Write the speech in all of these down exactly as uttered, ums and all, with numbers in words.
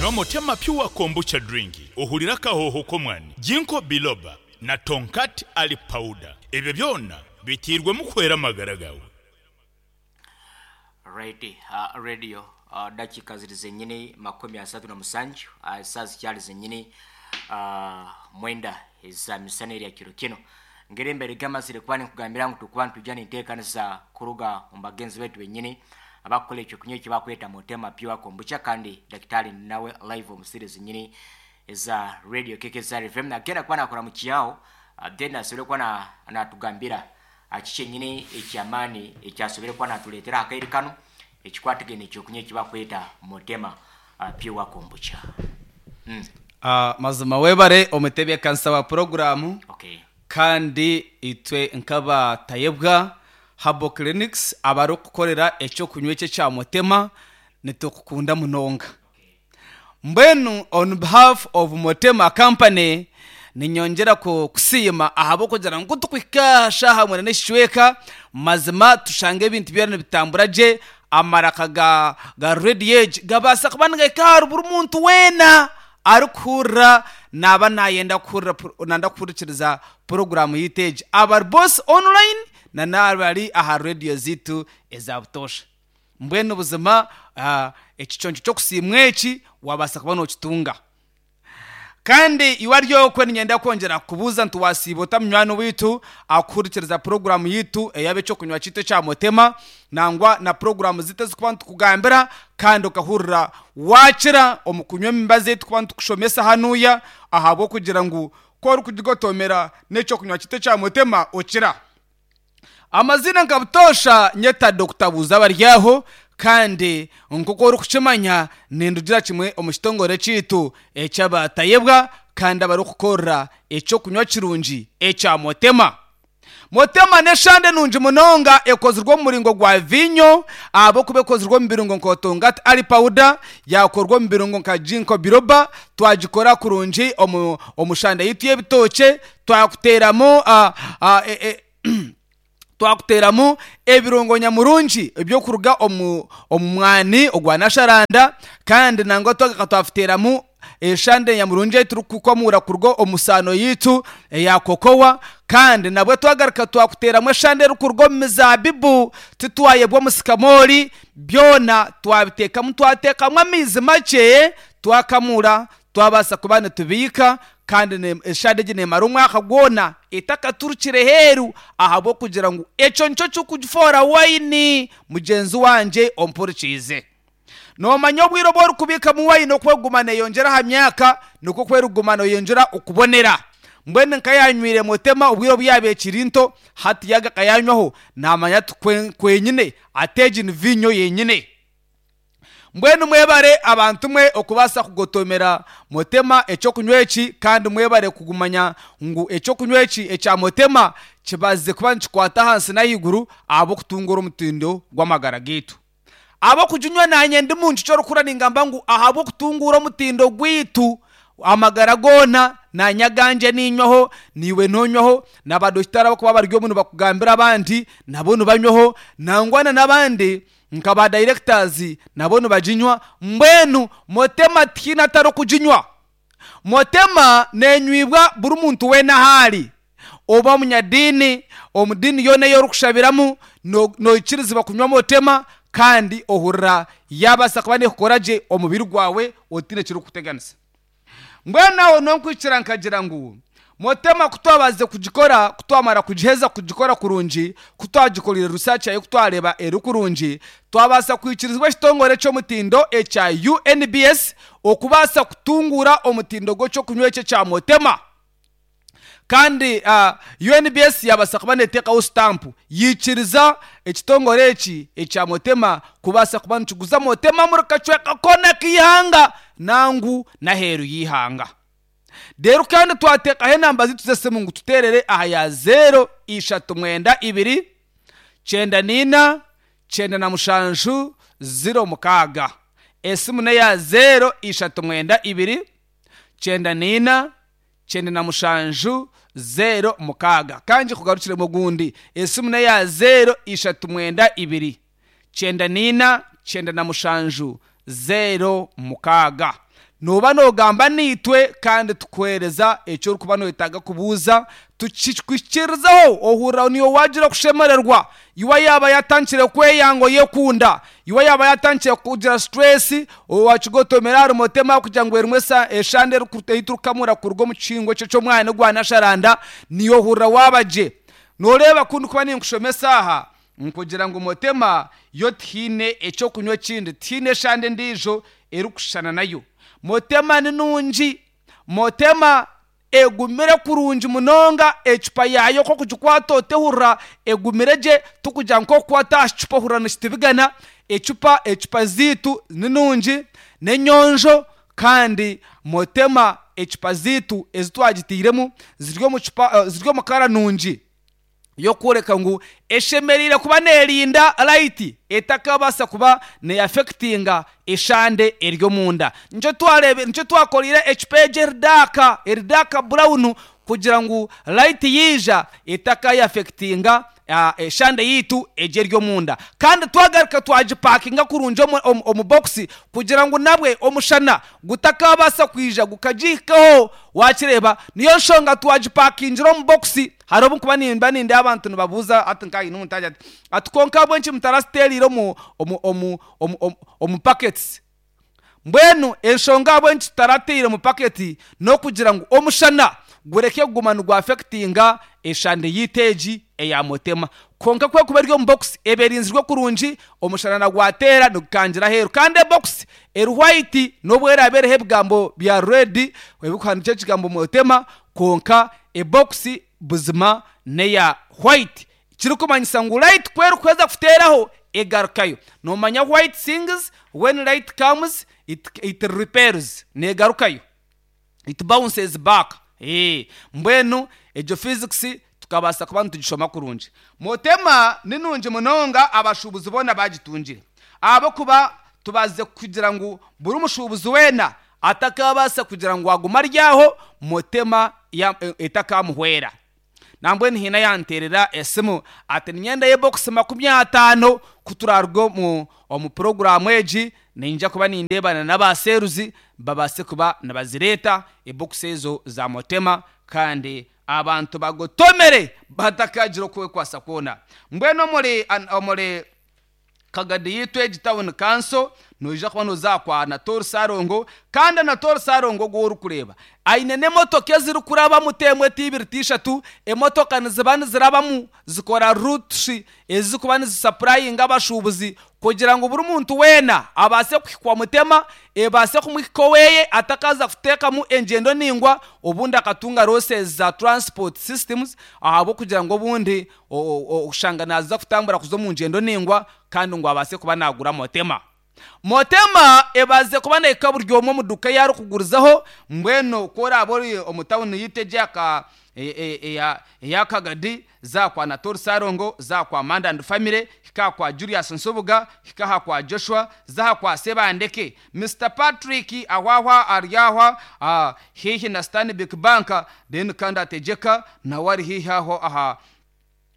Nywa Motema Pure Kombucha Drink ohurire akahooho k'omwani, Ginkgo Biloba na Tongkat Ali Powder. Ebyo byona biteirwemu kuhwera amagara gaawe. Right, uh, radio uh, dakika ziri zenyini makumi asatu na musanju, uh, saa zikyali zenyini uh, mwenda eza misana erya kiro kino. Ngeri embere gamazire kuba ninkugambira ngu tukuba nitujja ninteekanisa kuruga omu bagenzi baitu benyini abakukola ekyo kunywa eki bakweta Motema Pure Kombucha, kandi dakitari nawe live omu series zenyini eza radio K K S R F M nagenda kuba nakora mu kiyaho, uh, then asobole kuba na- natugambira uh, kiki enyini ekyamaani ekyasobole kuba natuleetera akaire kano ekikwatagene ekyokunywa eki bakweta Motema uh, Pure Kombucha mm. Ah, mazima webare omutebeekanisa wa puroguramu. Okay. Kandi itwe nk'abatayebwa Herbal Clinics abarikukorera ekyokunywa ekyo ekya Motema, nitukukunda munonga. Mbwenu on behalf of Motema Company, ninyongera ku- kusiima ahabw'okugira ngu tukuhika shaaha mwenda n'ekicweka, mazima tushanga ebintu byona nibitambura gye, amaraka ga, ga radio egi gabaasa kuba nigahika ahari buri muntu weena arikuhurira naaba nayenda kuhurira pro- nanda kuhurikiriza poroguramu yitu egi, abari bose online na n'abari aha radio zitu eza butoosha. Mbwenu buzima ah, ekiconco ky'okusiimwa eki wabaasa kuba nookitunga. Kandi iwe ryokwe, ninyenda kwongera kubuuza nti wasiiba ota munywani witu akuhurikiriza poroguramu yitu eyaba ekyokunywa kitu ekya Motema, nangwa na poroguramu zitu ezikuba nitukugambira, kandi okahurira wakira omu kunywa emibazi ei tukuba nitukushomesa hanuya, ahabw'okugira ngu ku orikugigotomera n'ekyokunywa kitu ekya Motema okira. Amazina nka butoosha nyeta Doctor Buuza Baryaho, kandi nk'oku orikukimanya nindugira kimwe omu kitongore kiitu eky'abatayebwa kandi abarikukorera ekyokunywa kirungi ekya Motema. Motema n'eshande nungi munonga ekozirwe omu muringo gwa vinyo, ahabw'okuba ekozirwe omu birungo nka Tongkat Ali Powder, yakorwa omu birungo nka Ginkgo Biloba, twagikora kurungi omu, omu shande yitu y'ebitookye, twakuteramu uh, uh, e, e, twakuteramu ebirungo nyamurungi ebyokuruga omu omu mwani ogwa nasharanda, kandi nangwa twagaruka twafuteramu eshande nyamurungi ei turikukomura kuruga omu saano yitu eya kokowa, kandi nabwo twagaruka twakuteramu eshande erikuruga omu mizabibu, titwayebwa omusikamori. Byona twabiteekamu, twateekamu amaizi makye, twakamura, twabaasa kuba nitubiika, kandi ne- eshande egi nemara omwaka gwona etakaturukire heeru, ahabw'okugira ngu ekyo nikyo kikugifoora wayini. Mugyenzi wangye ompurikiize, noomanya obwire obu orikubiikamu wayini okweguma neeyongyera aha myaka, nikwo kweriguma neeyongyera okubonera. Mbwenu nkayanywire Motema obwire obu yaaba ekiri nto, hati yaga akayanywaho namanya ati kwe- kwenyine ate egi ni vinyo yenyine. Mbwenu mwebare abantu mwe okubaasa kugotomera Motema ekyokunywa eki, kandi mwebare kugumanya ngu ekyokunywa eki ekya Motema kibaze kuba nikikwata ahansi n'ahaiguru ahabw'okutungura omutindo gw'amagara gaitu. Ab'okuginywa nanye ndi muntu kyorikura ningamba ngu ahabw'okutungura omutindo gwaitu amagara goona, nanye aganje ninywaho, niiwe nonywaho, n'abadokitari abakuba bari omu nibakugambira abandi nabo nibanywaho, nangwa n'abandi nka ba directors nabo nibaginywa. Mbwenu Motema tihaine atarikuginywa. Motema nenywibwa buri muntu weena ahaari, oba omunyadiini, omu diini yoona ei orikushabiramu no- noikirizibwa kunywa Motema, kandi ohurira yabaasa kuba nekukora gye omubiri gwawe otiine ekirikukuteganisa. Mbwenu aho nonkwikira nkagira ngu Motema kutwabaze kugikora, kutwamara kugiheza kugikora kurungi, kutwagikorire research yayo, kutwareba eri kurungi, twabaasa kwikirizibwa ekitongore ky'omutindo ekya U N B S okubaasa kutungura omutindo gw'ekyokunywa ekyo ekya Motema. Kandi uh, U N B S yabaasa kuba neteekaho sitampu yikiriza ekitongore eki ekya Motema kubaasa kuba nikiguza Motema muri kacweka koona k'ihanga nangu n'aheeru y'ihanga. Rero kandi twateekaho enamba zitu z'esimu ngu tuteerere aha ya zero ishatu mwenda ibiri kyenda nina kyenda na mushanju zero mukaaga. Esimu neya zero ishatu mwenda ibiri kyenda nina kyenda na mushanju zero mukaaga. Kangi kugarukiremu ogundi, esimu neya zero ishatu mwenda ibiri kyenda nina kyenda na mushanju zero mukaaga. Noba nogamba niitwe kandi tukuhereza ekyo orikuba noyetaaga kubuuza, tukikwikirizaho. Ohurira niyo wagira kushemererwa. Iwe yaba yatandikire kweyanga, oyekunda, iwe yaba yatandikire kugira stress, wakigotomera ahari Motema kugira ngu erimwe eshande eiturukamura kuruga omu kihingo ekyo ky'omwana gwa nasharanda, niyo ohurira waaba gye. Noreeba ku ndikuba ninkushomesa aha nkugira ngu Motema yo tihaine ekyokunywa ekindi, tihaine eshande endiijo erikushushana nayo. Motema ni nungi. Motema egumire kurungi munonga. Ecupa yayo kokugikwata otehurira egumire gye, tukugira nkokukwata aha kicupa ohurira nikitibigana. Ecupa ecupa ziitu ni nungi, n'enyonjo. Kandi Motema ecupa ziitu ezi twagitiiremu ziri omu cupa, ziri omu kara nungi yokworeka ngu eshemereire kuba neerinda light etakabaasa kuba neyaffectinga eshande eri omunda. Nikyo twarebe, nikyo twakoreire ecupa egi eri dark, eri dark brown, kugira ngu light yiija etakayaffectinga eshande yiitu egi eri omunda. Kandi twagaruka twagipakinga kurungi omu, omu box kugira ngu nabwe omushana gutakabaasa kwija gukagihikaho. Wakireeba, niyo nshonga twagipakingira omu box. Hari obu nkuba nimba nindeeba abantu nibabuuza ati nkaine omuntu agira ati ati konka ahabw'enki mutarasiteerire omu omu omu omu omu packets? Mbwenu enshonga ahabw'enki tutarateire omu paketi n'okugira ngu omushana gureke kuguma nigwaffectinga eshande yiitu egi eya Motema. Konka kwekuba eri omu box, eba erinzirwe kurungi, omushana nagwateera nigukangira aheeru. Kandi ebox eri white, n'obu eraabe eriho ebigambo bya red ebikuhandiikisa ekigambo Motema, konka ebox buzima neya white, kirikumanyisa ngu light ku erikuheza kuteeraho egarukayo. Nomanya white things, when light comes it, it repels, negarukayo, it bounces back. Eh, mbwenu egyo physics tukabaasa kuba nitugishoma kurungi. Motema ni nungi munonga. Abashuubuzi boona bagitungire, ahabwokuba tubaze kugira ngu buri mushuubuzi weena atakabaasa kugira ngu aguma aryaho Motema etakamuhwera. Nambwenu hiina yanteerera esimu ati niinyenda y'ebokisi makumi ataano. Ku turaruga omu omu poroguramu egi, ninja kuba nindeebana n'abaseruzi babaase kuba nibazireeta ebokisi ezo za Motema, kandi abantu bagotomere batakagira okwekwasa kwona. Mbwenu omuri omuri Kagadi yitu egi town council, noija kuba noza kwa Anatori Sarongo. Kandi Anatori Sarongo ogwo orikureeba aine n'emotoka ezirikurabamu, temwe, tibiri, tishatu. Emotoka niziba nizirabamu zikora routes ezikuba nizisupplyinga abashuubuzi kugira ngu buri muntu weena abaase kuhikwa Mutema, ebaase kumuhika oweye, atakaza kuteekamu engyendo ningwa, obundi akatunga losses za transport systems, ahabw'okugira ngu obundi oshanga naza kutambura kuza omu ngyendo ningwa kandi ngu abaase kuba nagura Motema. Motema ebaze kuba nehika buri omwe omu duka ei arikugurizaho. Mbwenu ku oraaba ori omu tawuni yitu egi eya Kagadi, za kwa Natori Sarongo, za kwa Manda and Family, hika kwa Julius Nsubuga, hika aha kwa Joshua, zaha kwa Sebandeke Mister Patrick ahwahwa aryahwa uh, hihi na Stanbic Bank. Then kandi ategeka nawe ari hihi aho aha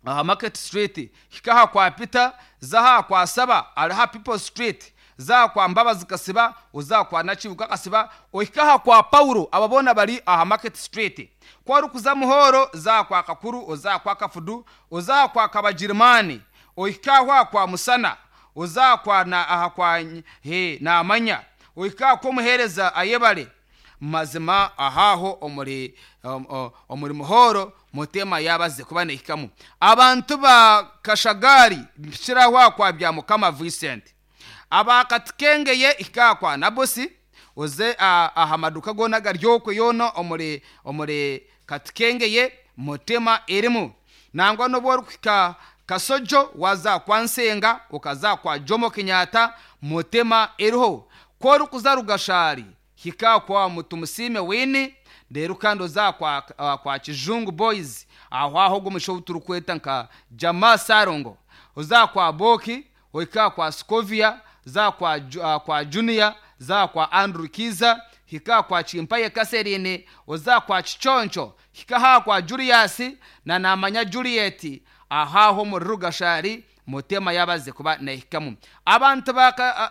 aha Market Street. Hika aha kwa Peter, zaha kwa Saba ariha People Street, za kwa Mbabazi Kasiba, uza kwa Nakibuka Kasiba, ohika aha kwa Paulo. Aba boona bari aha Market Street. Ku orikuza Muhoro, za kwa Kakuru, oza kwa Kafudu, oza kwa Kabagirimani, ohika aho kwa Musana, oza kwa na aha kwa he namanya, ohika kwa omuheereza ayebare. Mazima ahaho omuri um, omuri Muhoro Mutema yabaze kuba nehikamu. Abantu ba Kashagari, mpikiraho kwa Bya Mukama Vincent. Abakatikengeye, ikakwa Nabosi, oze aha maduka gona garyokwe yona omuri omuri Katikengeye Mutema erimu. Nangwa n'obu orikuhika Kasojo, waza kwa Nsenga, ukaza kwa Jomo Kenyatta, Mutema eriho. Ku orikuza Rugashari, hika kwa Mutumusime Wini. Rero kandi oza kwa, uh, kwa Kijungu Boys aho aho gumusho turikweta nka Jama Sarongo, oza kwa Boki, ohika kwa Scovia, za kwa, uh, kwa Junior, za kwa Andrew Kiza, hika kwa Chimpaye Kaserine, oza kwa Chichoncho, hika ha kwa Julius na namanya Juliet ahaho muri Rugashari Mutema yabaze kuba nehikamu. Abantu baka uh,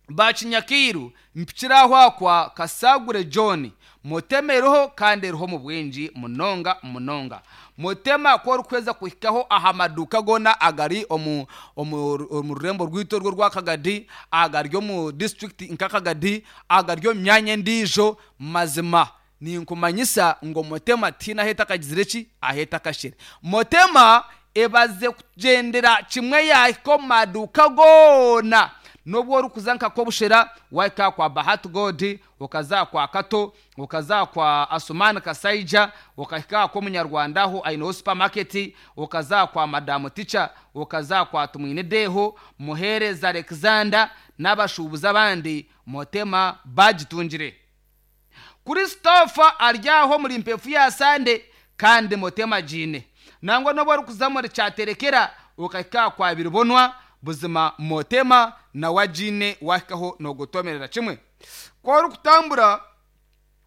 Bakinyakiru mpikiraho akwa Kasagure John, Motema eriho kandi eriho mu bwingi munonga munonga. Motema ko orikweza kuhikaho aha maduka gona agari omu omu omu rurembo rwitu orwo rwa Kagadi, agari omu district nka Kagadi, agari omu myanya endiijo, mazima ninkumanyisa ngu Motema tihaine ahu etakagizire ki, ahu etakashire. Motema ebaze kugyendera kimwe yahika omu maduuka goona. Nobwo orikuza nka Kobushera, wahika kwa Bahati God, okaza kwa Kato, okaza kwa Asumani Kasaija, okahika kwa Omunyarwanda aho aineho supermarket, okaza kwa Madamu Ticha, okaza kwa Tumwine Deho, Muhereza Alexander n'abashuubuzi abandi, Motema bagitungire. Christopher ari aho muri mpefu ya Sande kandi Motema giine. Nangwa nobwo orikuza muri Kyaterekera, okahika kwa Biribonwa, buzima Motema nawe agiine wahikaho nogotomerera kimwe. Ku orikutambura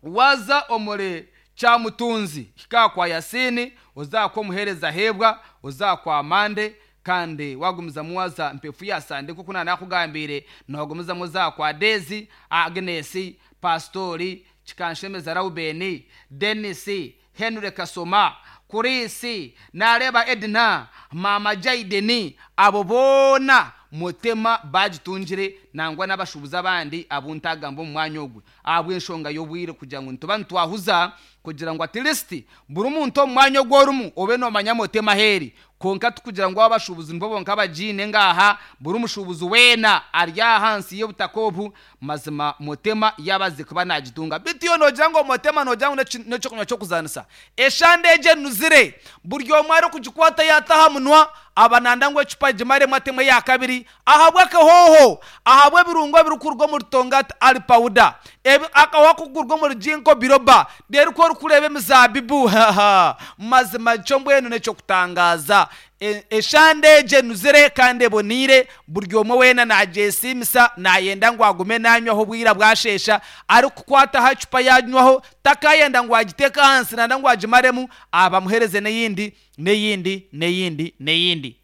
waza omuri Kyamutunzi, hika kwa Yasini, oza kwa Omuhereza Hebwa, oza kwa Mande, kandi wagumizamu waza mpefu ya Sande nkoku nanakugambiire, nogumizamu oza kwa Dezi, Agnes, Pastori, Kikanshemeza Raubeni, Denis, Henry Kasoma, Kurisi, nareba Edna, Mama Jaideni, abo boona Motema bagitungire, nangwa n'abashubuzi abandi abu ntagamba omu mwanya ogwe ahabw'enshonga y'obwire kugira ngu nituba nitwahuza kugira ngu at least buri muntu omu mwanya ogwo orimu obe noomanya Motema aheeri. Konka tukugira ngu abashubuzi nibo bonka abagiine ngaha, buri mushubuzi weena ari ahansi y'obutaka obu, mazima Motema yabaze kuba nagitunga. Bitu yo nogira ngu Motema nogira ngu n'ekyokunywa ky'okuzanisa. Eshande egyo enuzire, buri omwe arikugikwata yataha munwa, aba nanda ngu ecupa gimaremu atemu eya kabiri, ahabw'akahoho, ahabw'ebirungo ebirikuruga omuri Tongat Ali Powder, akahoho akarikuruga omuri Ginkgo Biloba, reero ku orikureeba emizaabibu, mazima kyo mbwenu n'eky'okutangaaza. Eshande egyo enuzire kandi eboniire, buri omwe weena nagyesiimisa, nayenda ngu agume nanywaho obwira bwashesha, arikukwata aha ecupa yanywaho, takayenda ngu agiteeke ahansi nanda ngu agimaremu, abamuhereze n'eyindi, n'eyindi, n'eyindi, n'eyindi.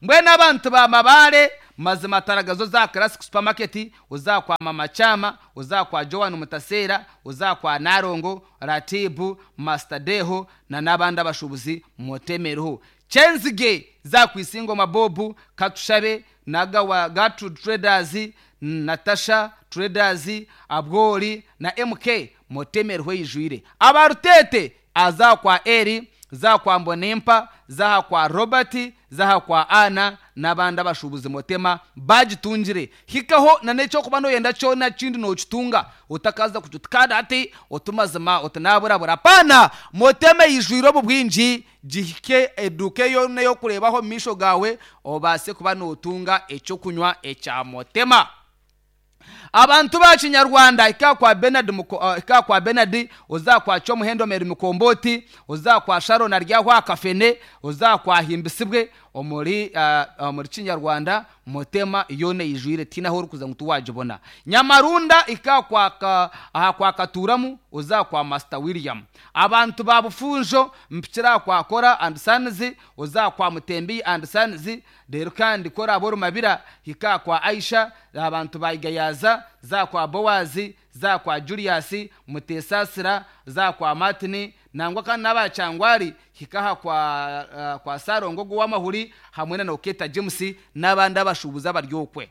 Mbwenu abantu ba Mabare, mazima taragazo za Classic Supermarket, oza kwa Mama Chama, oza kwa Joan Mutasera, oza kwa Narongo, Ratibu, Master Deho na n'abandi abashubuzi mutemereho. Chenzige za kwisingo Mabobu, Katushabe, Nagawa Gatu Traders, Natasha Traders, Abgori na M K mutemereho yijwire. Abarutete aza kwa Eri, za kwa Mbonimpa, zaha kwa Robert, zaha kwa Ana n'abandi abashubuzi Motema bagitungire. Hikaho na n'ekyo kuba noyenda kyona kindi nokitunga, otakaza kututkada ati otumazima otanaburabura. Pana Motema yijwire obu bwingi, gihike eduke yona yokurebaho misho gawe, obase kuba notunga ekyokunywa ekya Motema. Abantu ba Kinyarwanda ika kwa Bernard uh, ika kwa Bernard, oza kwa Chomuhendo Meri Mukomboti, oza kwa Sharon aryaho akafene, oza kwa Himbisibwe omuri uh, omuri Kinyarwanda Motema yone yijwire tina ho rukuza ngutu wajibona. Nyamarunda ika kwa ka, aha kwa Katuramu, oza kwa Master William. Abantu ba Bufunjo mpikira kwa Kora and Sons, oza kwa Mutembi and Sons, rero kandi Kora Aborumabira hika kwa Aisha, abantu ba Igayaza, za kwa Bowazi, za kwa Julius Mutesasira, za kwa Martin, nangwa kandi n'abacangwari hikaha kwa uh, kwa Sarongo gw'amahuri hamwe na Noketa James n'abandi abashubuza baryokwe.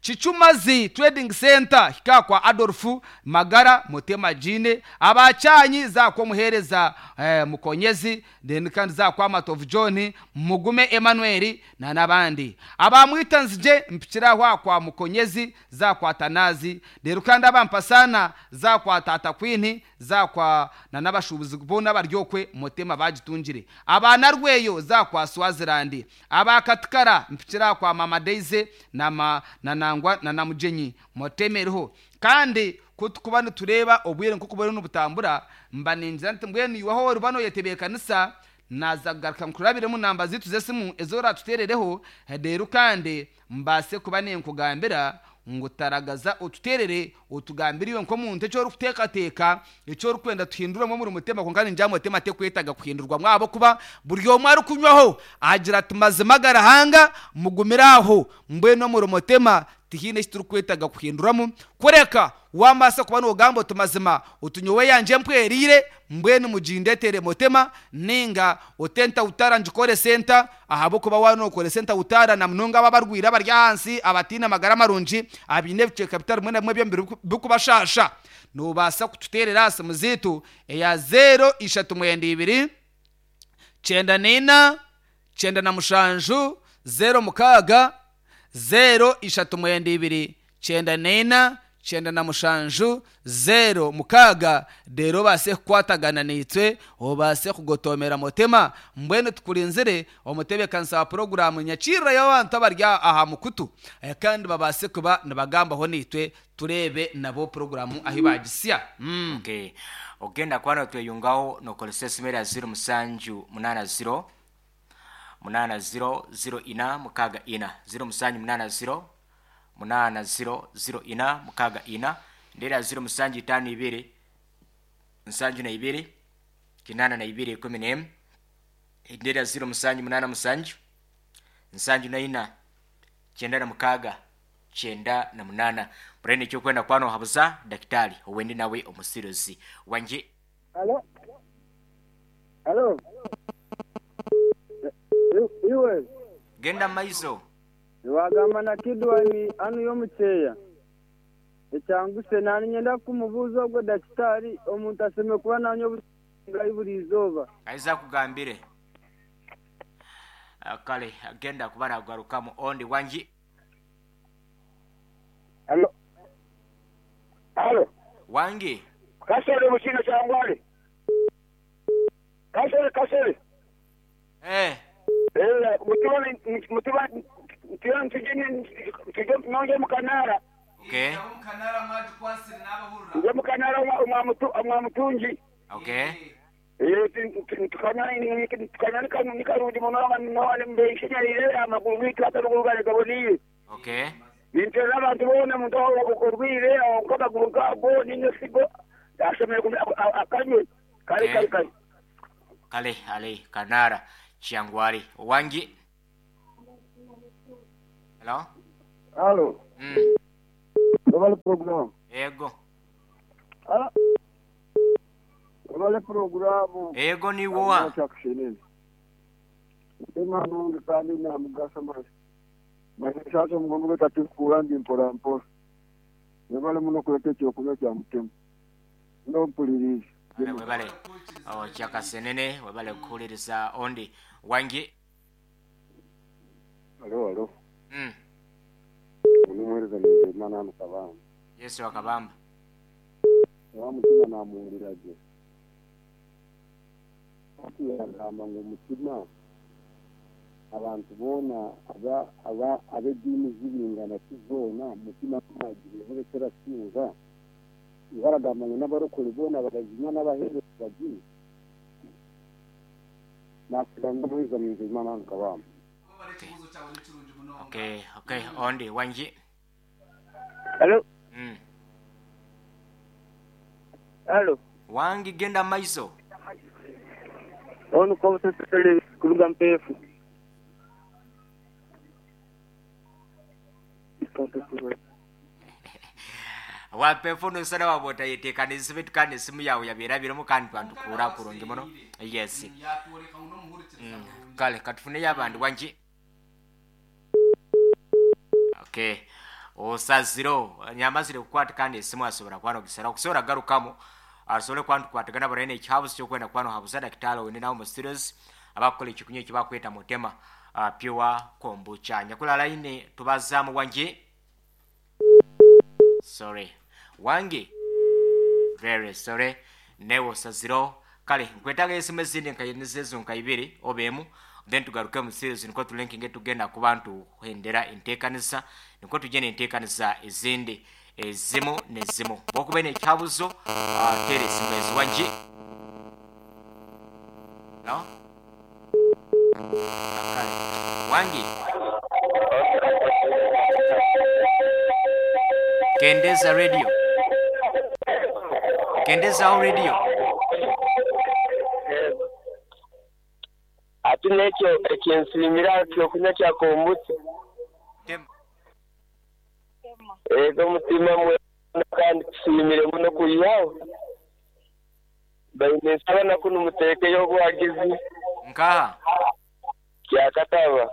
Chichumazi Trading Center hika kwa Adolfu Magara Motema Jine, abacyanyi za kwa Muhereza eh, Mukonyezi, then kandi za kwa Matovu John Mugume Emmanuel na nabandi. Abamwitanzije mpikiraho kwa Mukonyezi za kwa Tanazi, rero kandi abampasana za kwa Tata Queen za kwa na nabashubuzi bona baryokwe Motema bagitungire. Abana rweyo za kwa Swaziland, abakatikara mpikira kwa Mama Daisy na ma, na nangwa na namujenyi motemereho. Kandi kutukuba nitureba obwire nkuko bari n'ubutambura, mba ningira nti mbwenu iwaho rubano yetebekanisa naza kugaruka nkurabiremu namba zitu z'esimu ezora tuterereho, rero kandi mbase kuba ninkugambira ngu taragaza otuterere otugambire iwe nk'omuntu ekyo orikuteekateeka ekyo orikwenda tuhinduremu omuri Mutema. Konka ningira Mutema tekwetaga kuhindurwa mwabo kuba buri omwe arikunywaho agira ati mazima garahanga mugumire aho mbwenu omuri Mutema Tihine eki turikwetaga kuhinduramu kureka wamasa kuba nogamba oti mazima otunyowe yanje mpwerire, mbwenu mugindetere mutema ninga otenta utara njikore senta, ahabwokuba wanokore senta utara na munonga aba barwire abari ahansi abatiine amagara marungi abiine ebicweka bitari bimwe na bimwe byomubiri bikubashasha. Nobaasa kututeerera aha simu ziitu eya zero ishatu mwenda ibiri kyenda n'ina kyenda na mushanju zero mukaaga, zero ishatu mwenda ibiri kyenda n'ina kyenda na mushanju zero mukaaga, reero obaase kukwatagana naitwe, obaase kugotomera mutema. Mbwenu tukurinzire omutebeekanisa wa puroguramu nyakirirayo abantu abari aha mukutu, eh, kandi babaase kuba nibagambaho naitwe, tureebe nabo puroguramu ahi bagisya. mm. Okay, ogenda kuba notweyungaho nokozesa esimu erya zero musanju munana zero munana zero zero ina mukaga ina, zero musanju munana zero munana zero zero ina mukaga ina, ndera zero musanju itano ibiri nsanju na ibiri kinana na ibiri ikumi n'emu, ndera zero musanju munana musanju nsanju na ina kyenda na mukaga kyenda na munana. Murene ekyokwenda kwano habuza dakitari owendi nawe omusiruzi wanje. Alo? Alo? Iwe, genda maiso. Niwagamba na Kidwani anu y'omukyeya. Ekyanguse nani nyenda kumubuuza ogwo dakitari omuntu aseme kuba nanywa obusingayi buri izooba. Aiza kugambire. Ah, kale agenda kuba nagarukamu ondi wangi. Alo? Alo? Wangi. Kasore muchino kyangwale. Kasore kasore. Eh. Eh, mutuba mutuba mutuba ntujeni tujye nonge mukanara. Okay. Nje mukanara mwa mutu mwa mutungi. Okay. Eh, tukana tukana kanu nikarundi muno no mbe ishinyalire amaguru gitu atarugugale gaboniye. Okay. Nintera abantu bona muntu okurwire akaguru kabo ninesigo ashomere akanywe kale kale kale. Kale ale kanara Chiangwari wangi. Hello? Alo, Mm. babale program. Ego. Alo? Babale programu. Ego ni woa. Kyakushenene. Mutema nungi kandi namugasa masi. Mashacho mugongo gatatukura ndi mpora mpora. Babale muno kuleta ekyokunywa kya mutema. Nompuliriza. Ale webale. Oh, kyakasenene webale kuhuliriza ondi wangi. Alo, alo. Mm. Onumuhereza ninze Imana Kabamba. Yesu wakabamba. Wa mutima namuwulira gye. Ati yagamba ngu mutima abantu boona aba aba ab'eddiini zibingana ki zoona mutima nagireho kerasinga. Ibaragamba ngu n'abarokore boona barazinywa n'abaheereza baginywa. Nakugamba omuhereza ninze Imana Kabamba. Okay, okay, ondi wangi. Alo? Mm. Alo? Wangi genda maiso. Onu kwa usasele kuruga mpefu. Wapefu nusana wabota yetekanisa bitukane esimu yawe yabeerabiremu kandi twantukura kurungi muno. Yes. Mm. Kale katufuneyo abandi wangi. Okay. Osaziro nyamazire kukwata kandi esimu asobora kwano gisara okusobora garukamu asobole kwantukwatagana barene ekyabuzi kyokwenda kwano habuza dakitari wene nawo mu studios abakukola ekikunywa ekibakweta mutema uh, pure kombucha. Nyakula line tubazaamu wangi. Sorry. Wangi. Very sorry. Newo saziro kale nkwetaga esimu ezindi nkayenezezo nkaibiri obemu then tugaruke mu series niko tulinkinge tugenda ku bantu kuhendera enteekanisa niko tugenda enteekanisa ezindi ezimu nezimu bwokuba nekyabuzo uh, tere esimu ezi wangi. No? Kale. Wangi. Kendeza radio. Kendeza au radio. Ati nekyo ekinsimira kyokunywa kya kombucha. Tem. Ego mutima mwe kandi tushimire muno kuyihaho. Baine nsaba na kuno muteekeyo obwagizi Nkaha? Kyakataba.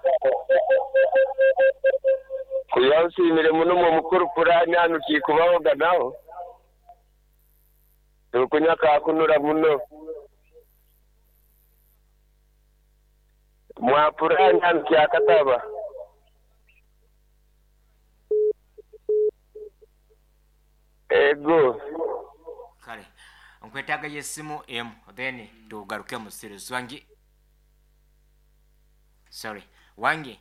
Kuyihaho nsiimire muno mwe mukuru purani hanu kikubahoga naho. Tukunywa kakunura muno. Mwa purani hanu kyakataba. Ego. Kale nkwetaaga yesimu emu then tugaruke mu series. Wangi, sorry, wangi.